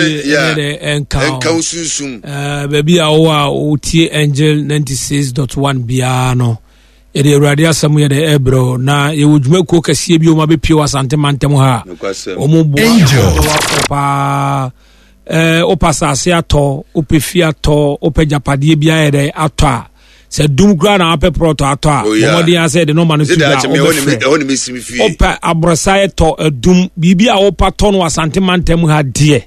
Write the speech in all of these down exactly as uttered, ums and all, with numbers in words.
Ɛnka wo sunsum. Baabi a wowɔ a wotie Angel ninety-six point one biara no, yɛde Awurade asɛm yɛde ɛbrɛ na yɛwɔ dwumakuo kɛseɛ bi ɔma bɛpie wɔ Asante mantam ha a ɔmo boa paa. Wopɛ asase atɔ, wopɛ fie atɔ, wopɛ gyapadeɛ bi ayɛ dɛ atɔ a, sɛ dum koraa na wapɛ plot atɔ a, wɔmɔden asɛ de nɔma no to dwa, wobɛfrɛ. Wopɛ aborɔsaeɛ tɔ, adum, biribi a wopa tɔ no Asante mantam ha deɛ,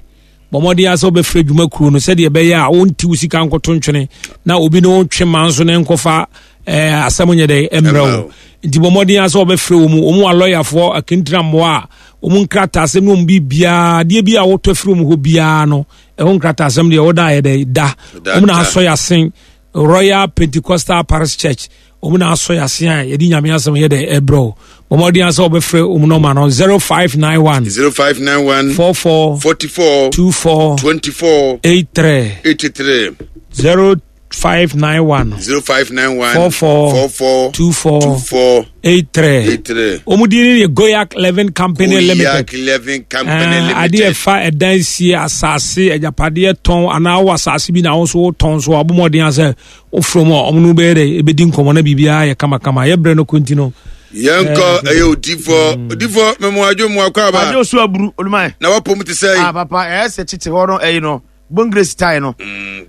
bɔmmɔden asɛ wobɛfrɛ dwumakuo no sɛdeɛ ɛbɛyɛ a wonti wo sika nkoto ntwene na obi ne wontwe ma nso ne nkɔfa asɛm nyɛ dɛ mmerɛ wo. Nti bɔmmɔden asɛ wobɛfrɛ wɔ mu. Ɔmu alɔyafoɔ akentira mmoa a ɔmu nkrataasɛm ne ɔmu biribiaa deɛ bi a wotɔ afiri ɔmu hɔ biara no, ɛho nkrataasɛm deɛ woda yɛ dɛ da ɔmu na asɔ yɛ asen. Royal Pentecostal Parish Church, ɔmu na asɔ yɛ asen a yɛde Nyame asɛm yɛ dɛ ɛbrɛ wo. Bɔmmɔden asɛ wobɛfrɛ ɔmu nɔma no zero five nine one zero five nine one four four forty-four two four twenty-four eight three. eighty-three. zero five nine one zero five nine one four four four four two four two four eight three. eighty-three. Ɔmu din ne yɛ Goyak Eleven Company Limited. Goyak Eleven Company Limited. Adeɛ ɛfa ɛdan sie, asase, agyapadeɛ tɔn, anaa wɔ asase bi na wo nso wotɔn so, abɔmmɔden asɛ wofrɛ mu a, ɔmo no bɛyɛ dɛ ɛbɛdi nkɔmmɔ na biribiara yɛ kamakama. Yɛbrɛ no kɔnti no. Yɛnkɔ ɛyɛ odifoɔ odifoɔ mɛmo mu akɔ aba. Adwo so aburu oluman. Na wapɔ mu te sɛ? Ah papa, ɛyɛ sɛ tete hɔ no, ɛyi no bongre style no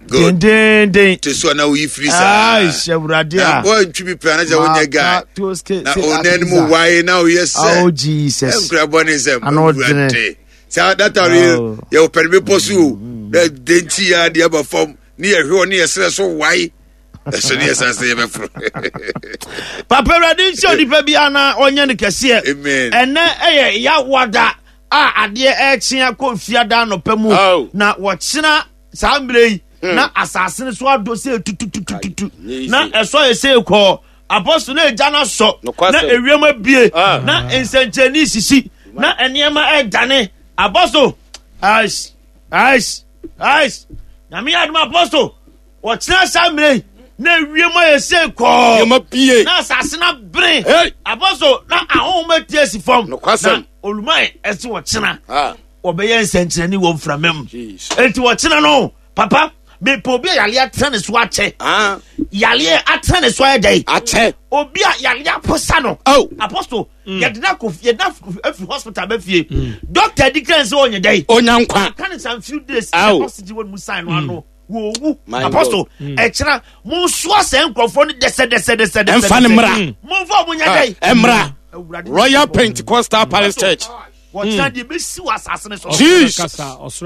dendenden. Te so a na woyi firi saa. Ayi Awurade a. Na wɔntwi bi pɛ anasɛ wonyɛ guy na onan mu wae na woyɛ sɛ. Oh Jesus. Ɛnkura bɔ ne nsɛm Awurade saa data no yɛ wɔpɛ no bepɔ so o, na denti ya deɛ aba fam ne yɛhwɛ wɔ ne yɛserɛ so wae ɛso ne yɛsan sɛ yɛbɛforo. Papa, Awurade nhyɛ onipa bi ana ɔnyɛ no kɛseɛ. Ɛnɛ ɛyɛ Yawada a adeɛ ɛrekyea kɔ Fiada anɔpa mu na wɔkyena saa mmerɛ yi na asase no so adɔ sɛ tututututu na ɛsɔ yɛ sɛ kɔɔ apɔso na egya no asɔ na ewiem abie na nsɛnkyerɛnne sisi na nneɛma ɛredane. Apɔso, ais ais ais, Nyame yɛ adom, apɔso, wɔkyena saa mmerɛ yi na ewiem ayɛ sɛ kɔɔ na asase no abere, apɔso, na ahonhom ati asi fam na oluman ɛsɛ wɔkyena wɔbɛyɛ nsɛnkyerɛnne wɔ mframa mu. Enti wɔkyena no, papa, mepɛ obi a yaleɛ atena ne so akyɛ, yaleɛ atena ne so ayɛ dɛ akyɛ, obi a yaleɛ aposa no, apostle, yɛde na kɔ, yɛde na afiri hospital bɛ fie, doctor di kan sɛ ɔnyɛ dɛ onya nkwa. Kan some few days oxygen wɔn mu sign no ano wɔwu. Apostle, ɛkyerɛ mo nsoa sɛ nkurɔfoɔ no dɛsɛ dɛsɛ dɛsɛ dɛsɛ. Ɛnfa ne mmra. Mo nfa ɔmo nyɛ dɛ. Ɛmmra Royal Pentecostal Parish Church. Wɔkyerɛ deɛ bɛsi wɔ asase no so. Jesus. Apostle,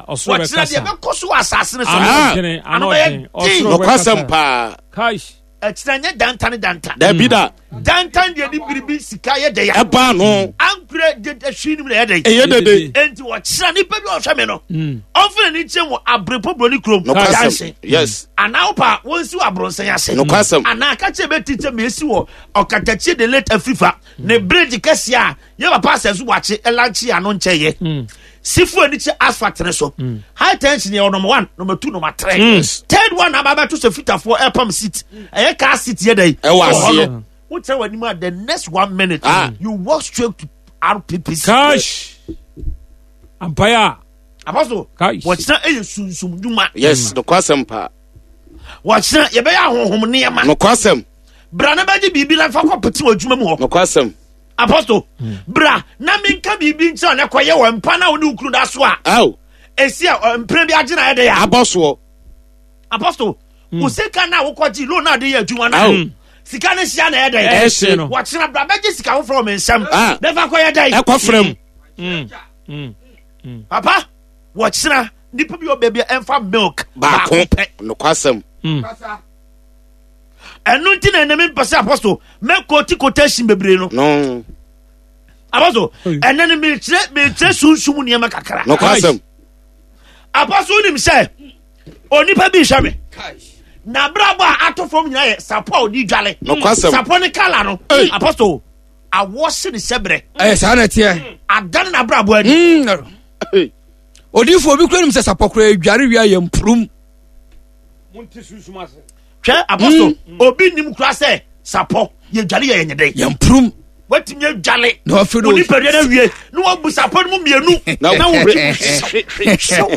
wɔkyerɛ deɛ bɛkɔ so wɔ asase no so. Ano bɛyɛ den. Nokwasɛm paa. Ɛkyerɛ nyɛ danta ne danta. Dabi da. Dantan deɛ de biribi sika yɛ dɛ ya. Ɛbaa no. Ankorɛ de ɛhwi nim na ɛyɛ dɛ. Ɛyɛ dede. Enti wɔkyerɛ nipa bi a ɔhwɛ mi no, ɔnfin n'ani kyɛn wɔ Abirepɔ Buroni kurom. Nokwasɛm, yes. Anaa wopa wɔnsi wɔ aborɔnsɛn ase. Nokwasɛm. Anaa kakyɛ bɛ ti kyɛ mɛ esi wɔ Ɔkatakyie the late Afrifa ne bridge kɛseɛ a yɛ papa asɛnso wakye ɛlankye ano nkyɛn yɛ sifu ani kyɛ asphalt ne so. High tension yɛ number one, number two, number three, third one aba abɛto sɛ fitafoɔ ɛpam seat, ɛyɛ car seat yɛ dɛ. Ɛwɔ aseɛ. Wokyerɛ wɔ anim a, the next one minute ah. you walk straight to R P P C. Cash ampaya. Abaso, wɔkyerɛ ɛyɛ sunsum dwuma. Yes, nokwasɛm paa. Wɔkyerɛ yɛbɛyɛ ahohom nneɛma. Nokwasɛm. Bra na bɛgye biribi na fa kɔ pete wɔ adwuma mu hɔ. Nokwasɛm. Apostle, bra na menka biribi nkyerɛ na kɔyɛ wɔ mpa na wo ne wo kunu da so a ɛsi a mpere bi agye na ɛdɛ yɛ. Abɔ soɔ. Apostle, wo sika na wokɔgye loan na ade yɛ adwuma no, sika no hyia na ɛdɛ. Ɛhye no. Wɔkyena bra bɛgye sika foforɔ wɔ me nsɛm na fa kɔyɛ dɛn? Ɛkɔ frɛ mu. Papa, wɔkyena nipa bi wɔ baabi a ɛmfa milk baako pɛ. Nokwasɛm. Ɛno nti na ɛnɛ mempɛ sɛ, apostle, mɛkɔti quotation bebree no. No. Apostle, ɛnɛ no mekyerɛ mekyerɛ sunsum nneɛma kakra. Nokwasɛm. Apostle, wonim sɛ onipa bi hwɛ me na abrabɔ a ato fam nyinaa yɛ sapɔ a ɔde dwale. Nokwasɛm. Sapɔ ne kala no, apostle, awɔ se ne sɛbrɛ. Ɛyɛ saa na ɛteɛ. Adane n'abrabɔ ani. Odiifo, obi kura nim sɛ sapɔ kora edware wia yɛ mpurum. Hwɛ, apostle, obi nim kura sɛ sapɔ yɛdwale yɛ yɛnyɛ dɛn? Yɛ mpurum. Watumi adwale Na wafei na wo nipadua no awie na wabu sapɔ no mu mmienu Na na wo- wotwe.